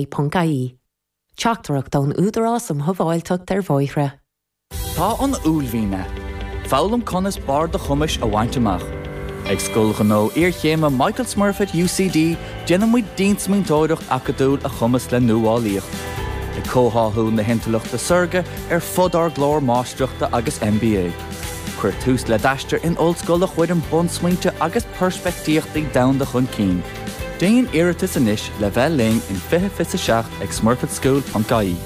Ponc-IE. Teachtaireacht ón Údarás um Shábháilteacht ar Bhóithre. Tá an uaillmhian agat. Foghlaim conas barr do chumais a bhaint amach. Ag Scoil Ghnó Iarchéime Michael Smurfit UCD déanann muid diansmaointeoireacht acadúil a chumasc le nuálaíocht. Ag comhtháthú na hintleachta saorga ar fud ár gclár Máistreachta agus MBA. Cuir tús le d'aistear in ollscoil a chuireann bunsmaointe agus peirspictíochtaí domhanda chun cinn. Déan iarratas anois le bheith linn in 2027 ag smurfitschool.ie.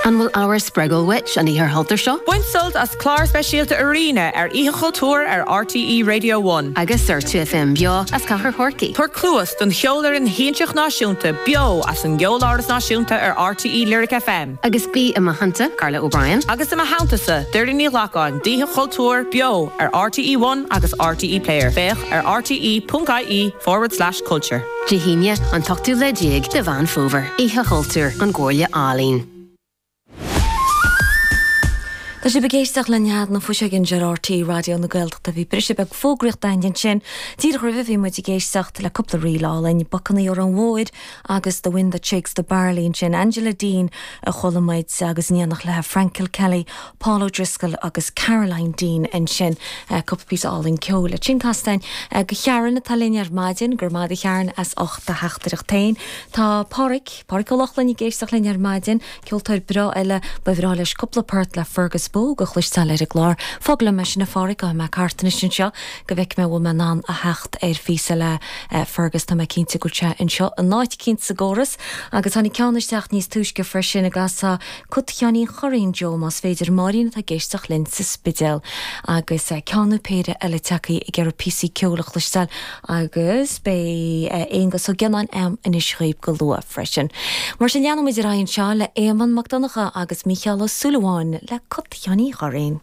An bhfuil ábhar spreagúil uait an Oíche Chultúir seo? Bain sult as clár speisialta Arena ar Oíche Chultúir ar RTÉ Radio One. Agus ar 2FM beo as Cathair Chorcaí. Tabhair cluas don Cheolfhoireann Shiansach Náisiúnta beo as an gCeoláras Náisiúnta ar RTÉ Lyric FM. Agus bí i mo theannta, Carla O'Brien. Agus i mo theannta-sa, Doireann Ní Ghlacáin, d'Oíche Chultúir beo ar RTÉ One agus RTÉ Player. Féach ar rte.ie forward slash culture. Dé hAoine, an t-ochtú lá déag de Mheán Fómhair, Oíche Chultúir, an gComhairle Ealaíon. Tá sibh ag éisteacht le Nead na Fuiseoige anseo ar RTÉ Raidió na Gaeltachta. Bhí briseadh beag fógraíochta againn ansin. Díreach roimhe bhí muid ag éisteacht le cúpla ríl álainn, Bacanna Órán Mhóir agus The Wind That Shakes the Barley ansin, Angela Deane a chuala muid agus in éineacht léi Frank Kilkelly, Paul O'Driscoll agus Caroline Deane ansin. Cúpla píosa álainn ceoil. Ansin casta againn go Sharon atá linn ar maidin. Go raibh maith agat a Sharon as ucht do theachtaireacht féin. Tá Páraic, Páraic Ó Lochlainn ag éisteacht linn ar maidin. Ceoltóir breá eile, ba bhreá leis cúpla port le Fergus Bogue a chloisteáil ar an gclár. Fág liom é sin a Pháraic, gabhfaidh mé thart anois anseo go bhfeicfidh mé an bhfuil mé in ann a theacht ar phíosa le Fergus. Tá mé cinnte go bhfuil sé anseo in áit eicínt sa gcóras. Agus tháinig ceann isteach níos túisce freisin, an gcasfá Cut Sheáinín Churraoin Joe más féidir, Máirín atá ag éisteacht linn sa Spidéal. Agus ceann nó péire eile tagtha ag iarraidh píosaí ceoil a chloisteáil agus beidh Aonghus Ó Giolláin a'm anois dhaoibh go luath freisin. Mar sin leanfaidh muid ar aghaidh anseo le Éamonn Mac Donncha agus Mícheál Ó Súilleabháin le Cut Sheáinín Churraoin.